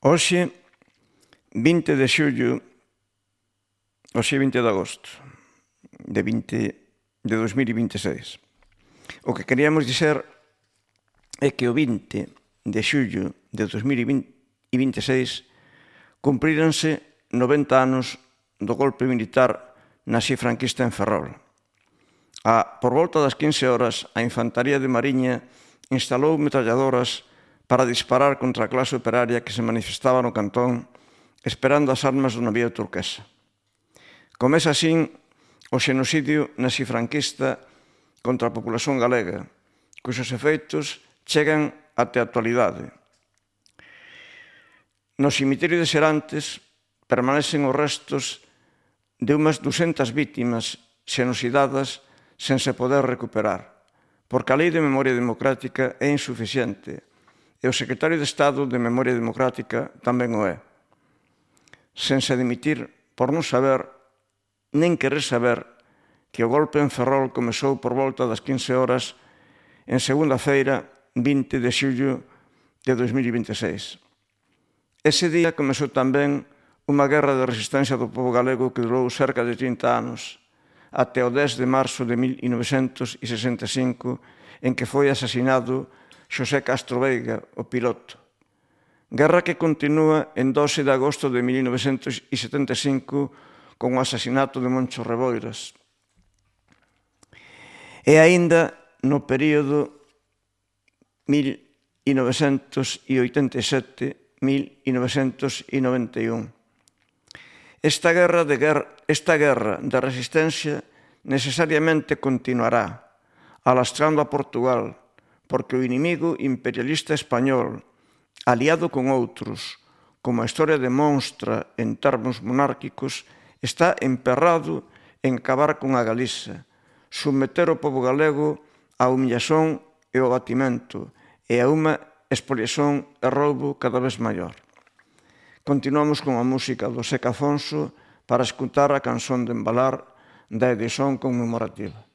Hoxe, 20 de xullo, hoxe 20 de agosto de 2026. O que queríamos dizer é que o 20 de xullo de 2026 cumpríranse 90 anos do golpe militar nazi-franquista en Ferrol. Por volta das 15 horas, a Infantaría de Mariña instalou metralladoras para disparar contra a clase operaria que se manifestaba no cantón esperando as armas do navío turquesa. Comeza así o xenocidio nazi-franquista contra a populación galega, cuxos efeitos chegan até a actualidade. No cemiterio de Serantes permanecen os restos de unhas 200 vítimas xenocidadas sen se poder recuperar, porque a Lei de Memoria Democrática é insuficiente e o secretario de Estado de Memoria Democrática tamén o é, sen se dimitir por non saber, nen querer saber, que o golpe en Ferrol comezou por volta das 15 horas en segunda-feira, 20 de xullo de 2026. Ese día comezou tamén unha guerra de resistencia do pobo galego que durou cerca de 30 anos, até o 10 de marzo de 1965, en que foi asesinado Xosé Castro Veiga, o piloto. Guerra que continúa en 12 de agosto de 1975 con o asasinato de Moncho Reboiras. E aínda no período 1987-1991. Esta guerra de resistencia necesariamente continuará, alastrando a Portugal, porque o inimigo imperialista español, aliado con outros, como a historia demonstra en termos monárquicos, está emperrado en acabar con a Galiza, submeter o pobo galego á humillación e ao batimento e a unha expoliación e roubo cada vez maior. Continuamos con a música do Seca Afonso para escutar a canción de embalar da edición conmemorativa.